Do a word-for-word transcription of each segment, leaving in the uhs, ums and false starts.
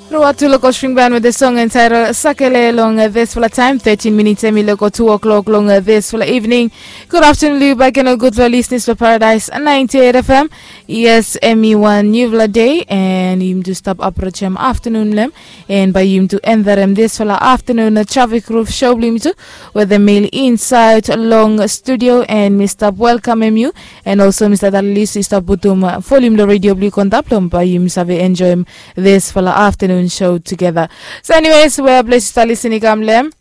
Ruatu Local String Band with the song entitled Sakele long uh, this fella time. Thirteen minutes emi loko two o'clock long uh, this fella evening. Good afternoon, Liu Baken, or good for listeners for Paradise ninety-eight F M. Yes, emi one new vla day, and yim to stop approach him afternoon lem, and by yim to enter him this fella afternoon uh, traffic roof show blim too, with the mail inside long studio, and Mister Welcome him you, and also Mister Dalilis is stop butum uh, volume the radio blue contact lom by yim save enjoy him this fella afternoon show together. So anyways, we bless you listening kam lem.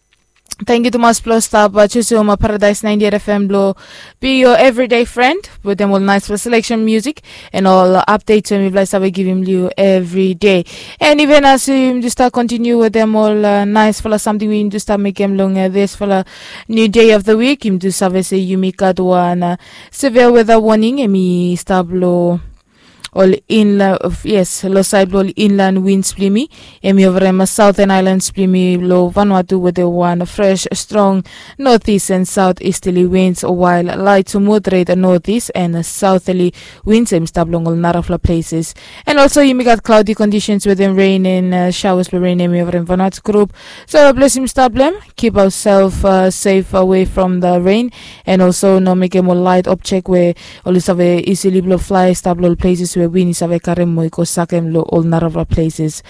Thank you tumas blo stap uh, chusum uh, Paradise ninety-eight F M blo be your everyday friend with them all nice for selection music and all uh, updates when we bless we give him you every day. And even as we just start continue with them all uh, nice for something we just start make him long uh, this for a new day of the week. Him just have say you make out one uh, severe weather warning and me stop low. Ol inla, yes, lo side blo ol inland winds blimi, emi over em southern islands blimi lo Vanuatu with a one fresh strong northeast and southeasterly winds, while light to moderate northeast and southerly winds em stop long ol narafla places. And also yumi got cloudy conditions with them rain and uh, showers lo rain emi over em Vanuatu group. So bless him stop them, keep ourselves uh, safe away from the rain, and also no make em ol light object where ol i save easily blo fly stap lo ol places we win i save karem mo i go sakem lo ol narafla places.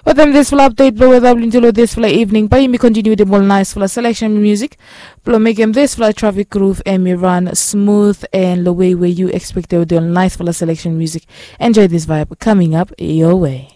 But then this fla update blo weather blinti lo this fla evening, but yumi continue dem ol nice fla selection music blo mekem this fla traffic groove and mi run smooth and lo way where you expect to do nice fla selection music. Enjoy this vibe coming up your way.